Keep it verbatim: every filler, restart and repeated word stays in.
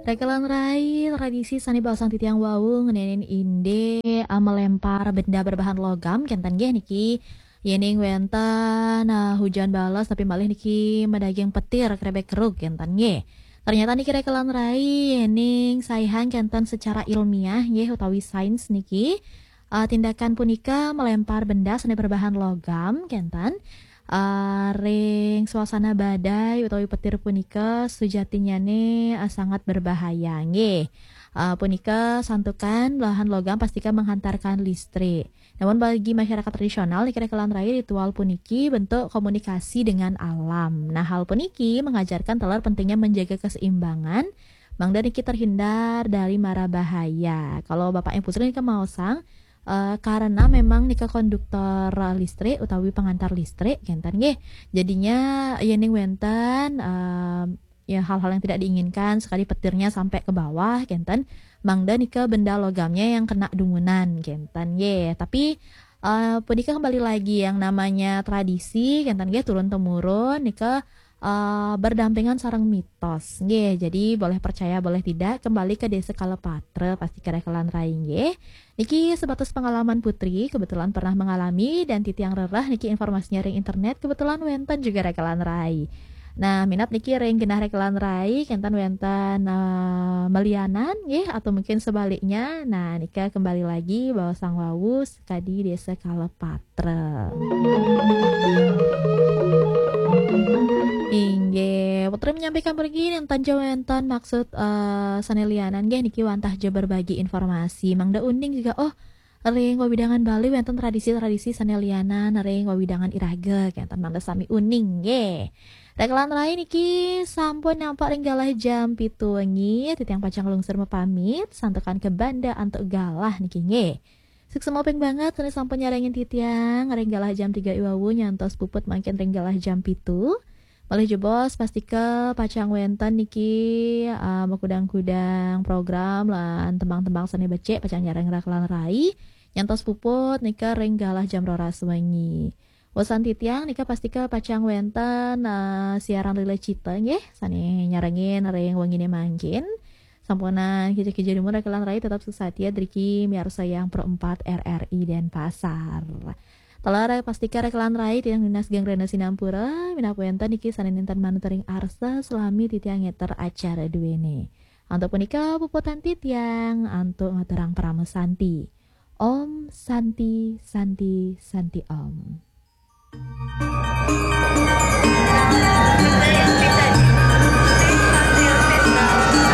Rekelan rai, tradisi sane baosang titiang wau ngeninin indik, eh, melempar benda berbahan logam, kenten nggih niki. Yening wenten, eh, hujan bales tapi malih niki medaging petir, krebek kerug, kenten nggih. Ternyata niki rekelan rai, yening saihang kenten secara ilmiah nggih utawi sains niki, eh, tindakan punika melempar benda sane berbahan logam, kenten. Eh, ring suasana badai utawi petir punika sujatinyane, eh, sangat berbahaya nggih. Eh, punika santukan belahan logam pastika menghantarkan listrik. Namun bagi masyarakat tradisional niki rekelan rai, ritual puniki bentuk komunikasi dengan alam. Nah, hal puniki mengajarkan taler pentingnya menjaga keseimbangan mangda niki terhindar dari mara bahaya. Kalau Bapak Yang Putri niki maosang, eh, karena memang nika konduktor, eh, listrik utawi pengantar listrik, kenten nggih. Jadinya yening wenten, eh, ya, hal-hal yang tidak diinginkan, sekali petirnya sampai ke bawah, kenten, mangda nika benda logamnya yang kena dumunan, kenten nggih. Tapi, eh, punika kembali lagi yang namanya tradisi, kenten nggih, turun temurun nika, eh, berdampingan sareng mitos nggih. Jadi boleh percaya boleh tidak, kembali ke Desa Kalepatra, pastika rekelan rai nggih. Niki sebatas pengalaman Putri, kebetulan pernah mengalami, dan titiang rereh niki informasinya ring internet, kebetulan wenten juga rekelan rai. Nah, minat niki ring genah rekelan rai, kenten wenten, eh, melianan nggih, atau mungkin sebaliknya. Nah, nika kembali lagi baosang wau sekadi Desa Kalepatra. Inggih, Putri menyampaikan mriki, enten ja wenten maksud, eh, sane lianan nggih niki wantah ja berbagi informasi. Mangda uning juga, oh, ring wewidangan Bali wenten tradisi-tradisi sane lianan ring wewidangan iraga, kenten mangda sami uning nggih. Rekelan rai niki sampun nampak ring galah jam pitu wengi, titiang pacang lungsur mapamit, santukan ke banda antuk galah niki nggih. Suksma ping banget sane sampun nyarengin titiang ring galah jam tiga i wau nyantos puput mangkin ring galah jam pitu. Malih jebos pastika pacang wenten niki, ah, makudang-kudang program lan tembang-tembang sane becik pacang nyarengin rekelan rai nyantos puput nika ring galah jam roras wengi. Wesan titiang nika pastika pacang wenten, ah, siaran Lila Cita nggih sane nyarengin ring wengine mangkin. Sampunang kija-kija dumun rekelan rai, tetap suksma driki miarsayang Pro empat R R I Denpasar. Taler pastika rekelan rai titiang nunas geng rena sinampura, minab wenten niki sane nenten manut ring arsa salami titiang ngeter acara duene. Antuk punika puputang titiang antuk ngaturang parama santi. Om Santi, Santi, Santi Om.